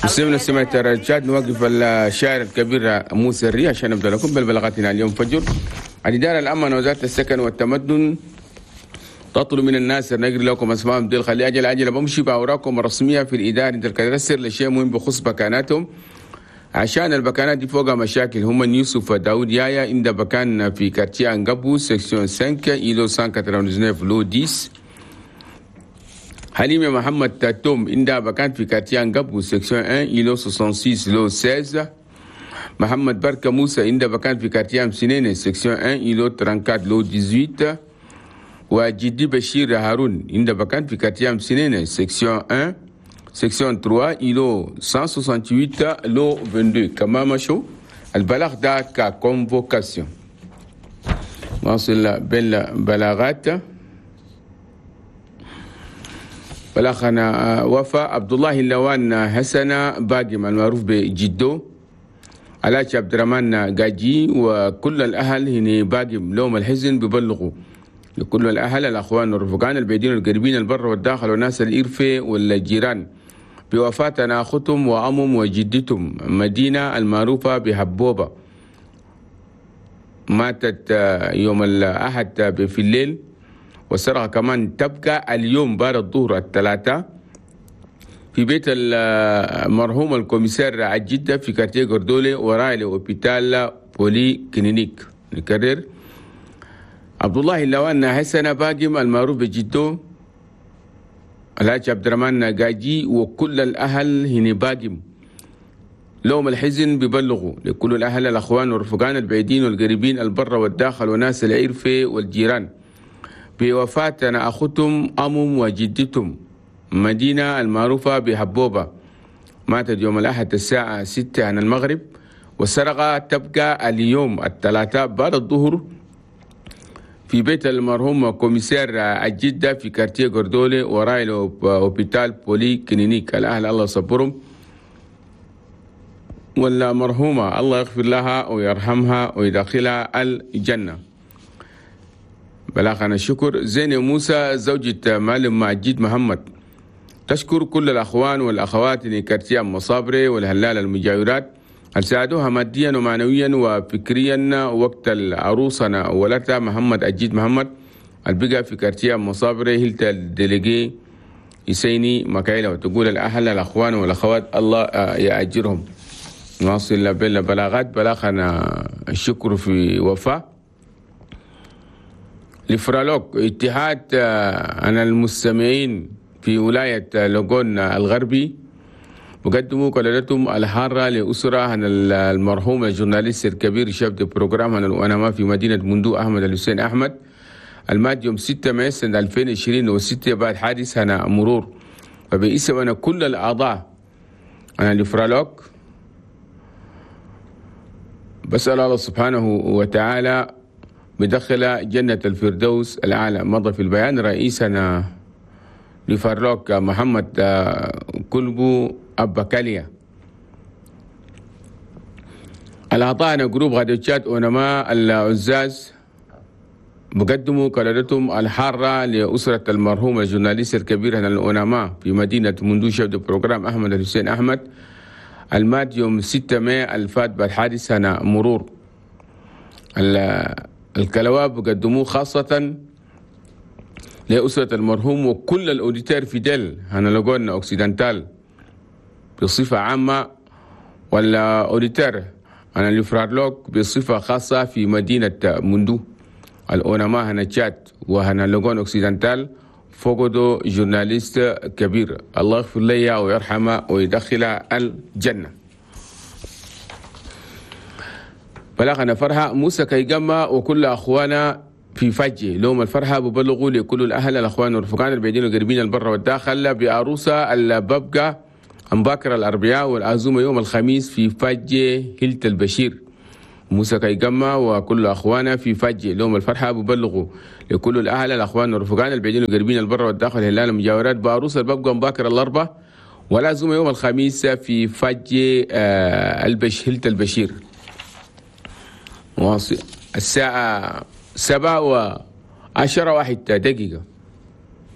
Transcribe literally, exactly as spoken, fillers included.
مستمعينا سمعت الرجال، نوقف الشاعر الكبير موسى الري عشان نبدا لكم بالبلاغاتنا اليوم فجر. الإدارة العامة وزارة السكن والتمدن تطلب من الناس نقري لكم اسمائهم ديل، خلي اجل اجل بمشي باوراقهم الرسمية في الادارة انت الكدرسر لشيء مهم بخص بكاناتهم، عشان البكانات دي فوقها مشاكل. هم يوسف داود يايا عند بكان في quartier انقبو section خمسة îlot مية وتسعة وتسعين lot عشرة. حليمة محمد تاتوم عند بكان في quartier انقبو section واحد îlot ستة وستين lot ستة عشر. محمد بركة موسى عند بكان في quartier سنين section واحد îlot أربعة وثلاثين lot ثمانية عشر. وجدي بشير هارون عند بكان في quartier سنين section واحد section ثلاثة îlot مية وثمانية وستين lot اثنين وعشرين. كما مشوا البلاغ ده ك convocation. واصل بالبلاغات. بلاغنا وفاء عبد الله اللوان حسن باقي المعروف بجدو، علاج عبد الرحمن قاجي وكل الاهل هنا باقي لوم الحزن ببلغوا لكل الأهل الأخوان والرفقان البعيدين والقريبين البر والداخل والناس الإرفة والجيران بوفاتنا أختهم وأمهم وجدتهم مدينة المعروفة بحبوبة، ماتت يوم الأحد في الليل، والسرقة كمان تبقى اليوم بعد الظهر الثلاثة في بيت المرحوم ال commissaire الجدة في quartier غردولي وراء l'hôpital polyclinique. نكرر، عبد الله اللوان حسن باقم المعروف بجدو، الحاج عبد الرحمن قاجي وكل الأهل هنا باقم لوم الحزن ببلغوا لكل الأهل الأخوان والرفقان البعيدين والقريبين البر والداخل وناس العرفة والجيران بوفاتنا أختهم أمهم وجدتهم مدينة المعروفة بحبوبة، ماتت يوم الأحد الساعة ستة عن المغرب، والسرقة تبقى اليوم الثلاثاء بعد الظهر في بيت المرحوم commissaire الجدة في quartier غردولي وراء l'hôpital polyclinique. الأهل الله صبرهم، والمرحومة الله يغفر لها ويرحمها ويدخلها الجنة. بلاغنا الشكر. زين موسى زوجة معلم مجيد محمد تشكر كل الأخوان والأخوات في quartier مصابري والهلال المجاورات هل ساعدوها ماديا ومعنويا وفكريا وقت العروسنا ولدها محمد أجيد محمد البقى في quartier مصابري هلت ال délégué يسيني مكايلة. وتقول الأهل الأخوان والأخوات الله يأجرهم. نواصل بالبلاغات. بلاغنا الشكر في وفاء لفرالوك اتحاد عن المستمعين في ولاية لوغون الغربي وقدموا قلادتهم الحارة لأسرة عن المرحوم ال journaliste الكبير chef de programme عن الأنما في مدينة مندو أحمد الحسين أحمد المات يوم ستة مايو سنة ألفين وعشرين وستة بعد حادث هنا مرور. فباسم أنا كل الأعضاء أنا لفرالوك بسأل الله سبحانه وتعالى بدخل جنة الفردوس الأعلى. مضى في البيان رئيسنا لفرلوك محمد كلبو أبكاليا. الأعضاء groupe radio تشاد أونما العزاز بقدموا قلادتهم الحارة لأسرة المرحوم ال journaliste الكبير هنا الأونما في مدينة مندو chef de programme أحمد الحسين أحمد المات يوم ستة مايو الفات بالحادث هنا مرور. الكلواب قدموه خاصة لأسرة المرحوم وكل ال auditeurs fidèles هنا Logone Occidental بصفة عامة، ولا auditeurs هنا لفرارلوك بصفة خاصة في مدينة مندو. الأونما هنا تشاد وهنا Logone Occidental فقدوا journaliste كبير، الله يغفر لي ويرحمه ويدخل الجنة. بلغنا فرحة موسى كيجمع وكل أخوانا في فجي لهم الفرحة ببلغوا لكل الأهل الأخوان والرفقان البعيدين والقريبين البر والداخل بعروسة الببقة أمباكر الأربعاء والعزومة يوم الخميس في فجي هلت البشير. موسى كيجمع وكل أخوانا في فجي لهم الفرحة ببلغوا لكل الأهل الأخوان والرفقان البعيدين والقريبين البر والداخل هلال المجاورات بعروسة الببقة أمباكر الأربعاء والعزومة يوم الخميس في فجي البش هلت البشير. الساعة سبعة وعشرة واحد دقيقة.